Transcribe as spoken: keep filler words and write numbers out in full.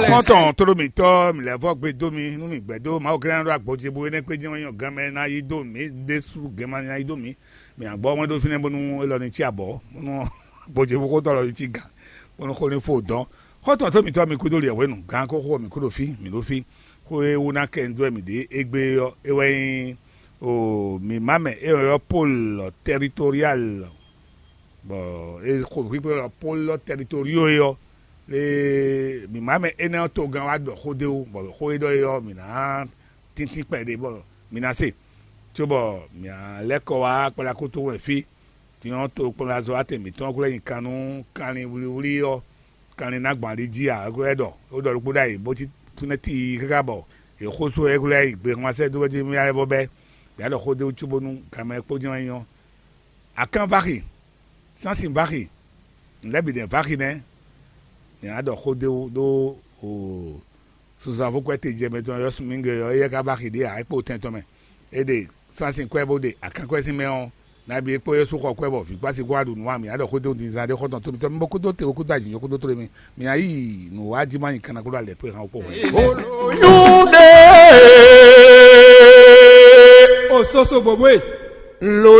Kɔntɔn tóɖó mǐtɔn mǐ lɛ́ vɔ gbe dó mi nú mǐ gbɛdó Mawu gɛ́n ɖo agbɔjɛbu énɛ́ kpé jɛ́n wɛ nyɔ gan mɛ ná yi dó mǐ ɖésú gɛn ma ná yi dó mǐ. Mǐ agbɔ wɛn ɖó fínɛ́ bónú élɔ́ ní cí abɔ̌ bónú agbɔjɛbu xótɔ́ lɔ ní cí gan bónú xó ní fó dɔn. Xɔ́ntɔn tó mǐtɔn mi kúdó liɛ hwenu gan kó xó mǐ kú ɖo fí mǐ ɖo fí. Xó e wú ná kɛ dó wɛ mǐ ɖe égbé ɔ́ é wɛ nyí o mǐ má mɛ é ɔ́ Pôl tɛritorial bɔ é xo xwíxwé ɔ́ Pôl tɛritorio é ɔ́, le mǐ má mɛ énɛ́ ɔ́ togán wá ɖɔ xó dó wú, bɔ xó e ɖɔ é ɔ́, mǐ ná tíntín kpɛɖé bɔ mǐ ná se, cóbɔ mǐ ná lɛ́ kɔ wá kpɛɖakótó wɛn fí. Din ɔ́, tokpɔnlazɔ́watɛn mǐtɔn ɔ́ ko lɛ́ nyi kan nú kanlin wlíwlí ɔ́, kanlin ná gbɔn ali jí ǎ, é ko lɛ́ ɖɔ é ɖɔ ɖokpó ɖ'ayǐ, bó cí túnɛ́ tíi káká bɔ è xó só ɛ é ko lɛ́ yi gbe hwan sɛ́ dó wɛ́ jí mí lɛ́ vɔ bɛ́. Mǐ ná ɖɔ xó dó wú cóbónú ganmɛ kpó jɛ́n wɛ nyí ɔ́. Akán vaxi, sánsin vaxi, nǔ lɛ́ɛ bǐ nɛ́ vaxi nɛ́. Mǐ ná ɖɔ xó dó wú ɖó o Suzan vo kwɛ́ te jɛ mɛ tɔn yɔ́ sunmígbe ɔ́, éyɛ́ ka vaxi ɖě ǎ, é kpo tɛn tɔn mɛ. É ɖe sánsin kwɛ́ bó ɖe akán kwɛ́ sín mɛ ɔ́, nabí é kpó Yɛsu xɔ kwɛ́ bɔ vǐ kpásí kó wá ɖu nǔ wa mǐ á ɖɔ xó dó din zán ɖé xɔ́ntɔn tó mitɔ́ mi bó kúdó te kúdó ajǐ nyɔ́ kúdó tlé mi. Mǐ á yi nǔ wá jí má nyi kanna kúdó alɛ pé hán kpó hwɛ. Nyúɖe o soso bòbwé lo